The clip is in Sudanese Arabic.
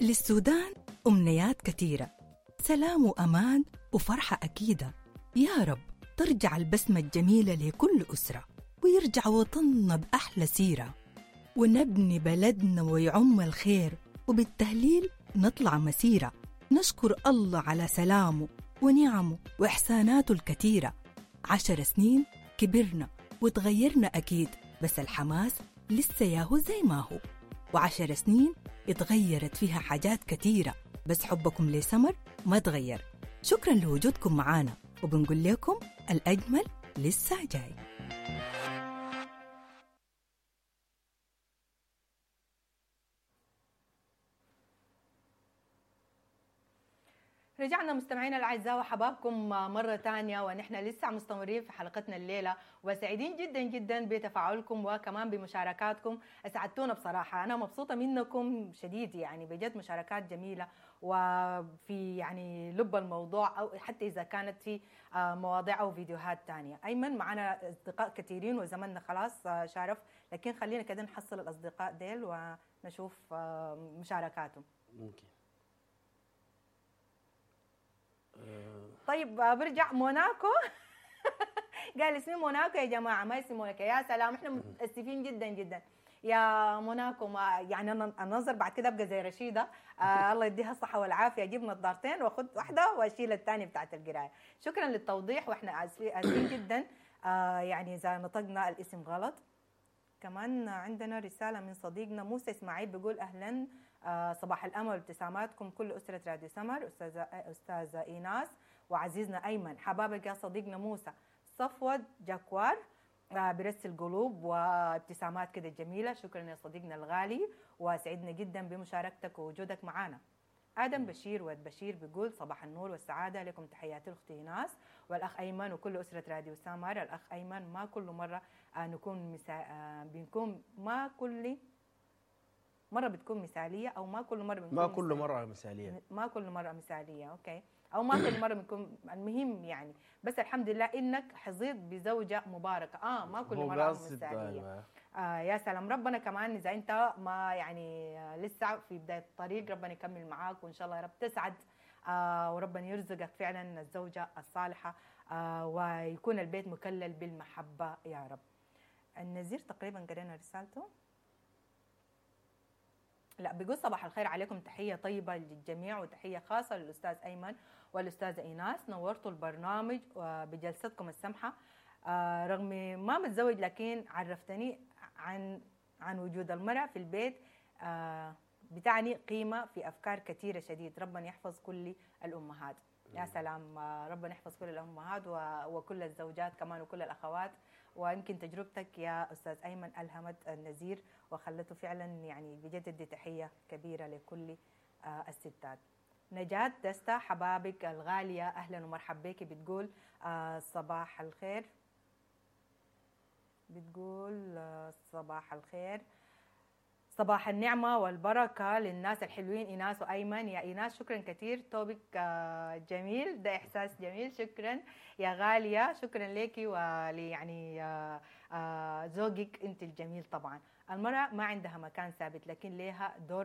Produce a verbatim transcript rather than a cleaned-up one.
للسودان أمنيات كثيرة، سلام وأمان وفرحة أكيدة. يا رب ترجع البسمة الجميلة لكل أسرة، ويرجع وطننا بأحلى سيرة، ونبني بلدنا ويعم الخير، وبالتهليل نطلع مسيرة. نشكر الله على سلامه ونعمه وإحساناته الكثيرة. عشر سنين كبرنا وتغيرنا أكيد، بس الحماس لسه ياهو زي ما هو. وعشر سنين اتغيرت فيها حاجات كثيرة، بس حبكم لسمر ما تغير. شكرا لوجودكم معانا، وبنقول لكم الأجمل لسه جاي. رجعنا مستمعينا الاعزاء وحبابكم مرة ثانية، ونحن لسه مستمرين في حلقتنا الليلة، وسعيدين جدا جدا بتفاعلكم وكمان بمشاركاتكم. اسعدتونا بصراحة، انا مبسوطة منكم شديد، يعني بجد مشاركات جميلة وفي يعني لب الموضوع، او حتى اذا كانت في مواضيع او فيديوهات ثانية. ايمن معنا اصدقاء كثيرين وزمننا خلاص شارف، لكن خلينا كده نحصل الاصدقاء ديل ونشوف مشاركاتهم. ممكن. طيب برجع موناكو. قال اسمي موناكو يا جماعة، ما اسمي موناكو. يا سلام، احنا متاسفين جدا جدا يا موناكو. ما يعني انا النظر بعد كده ابقى زي رشيده، آه الله يديها الصحة والعافية، اجيب نظارتين واخد واحدة واشيل الثانية بتاعت القراية. شكرا للتوضيح، واحنا اسفين جدا آه يعني اذا نطقنا الاسم غلط. كمان عندنا رسالة من صديقنا موسى اسماعيل بيقول اهلا، آه صباح الامل وابتساماتكم كل اسره راديو سمر، استاذه استاذه ايناس وعزيزنا ايمن. حبابك يا صديقنا موسى. صفوت جاكوار آه برسل قلوب وابتسامات كده جميلة. شكرا يا صديقنا الغالي، وسعدنا جدا بمشاركتك ووجودك معنا. ادم بشير ود بشير بيقول صباح النور والسعادة لكم، تحياتي الاخت ايناس والاخ ايمن وكل اسره راديو سمر. الاخ ايمن ما كل مرة آه نكون مسا... آه بنكون ما كل مرة بتكون مثاليه، او ما كل مرة بنكون ما كل مرة مثاليه، ما كل مرة مثاليه، okay، او ما كل مرة بنكون، المهم يعني بس الحمد لله انك حظيت بزوجه مباركة. اه ما كل مرة مثاليه. آه يا سلام، ربنا كمان اذا انت ما يعني لسه في بداية الطريق ربنا يكمل معاك، وان شاء الله يا رب تسعد، آه وربنا يرزقك فعلا الزوجة الصالحة، آه ويكون البيت مكلل بالمحبة يا رب. النزير تقريبا قرينا رسالته. لا، بيقول صباح الخير عليكم، تحية طيبة للجميع وتحية خاصة للأستاذ أيمن والأستاذة إيناس، نورتوا البرنامج بجلستكم السمحة. آه رغم ما متزوج لكن عرفتني عن عن وجود المرأة في البيت، آه بتعني قيمة في أفكار كثيرة شديد. ربنا يحفظ كل الأمهات. يا سلام، ربنا يحفظ كل الأمهات وكل الزوجات كمان وكل الأخوات. ويمكن تجربتك يا أستاذ أيمن ألهمت النزير وخلته فعلا يعني بجد تحية كبيرة لكل الستات. نجاة دستا حبابك الغالية، أهلا ومرحبا بك، بتقول صباح الخير، بتقول صباح الخير، صباح النعمة والبركة للناس الحلوين إيناس وأيمن. يا إيناس شكرا كثير، توبك جميل، ده إحساس جميل، شكرا يا غالية، شكرا لك ولي يعني زوجك أنت الجميل. طبعا المرأة ما عندها مكان ثابت لكن لها دور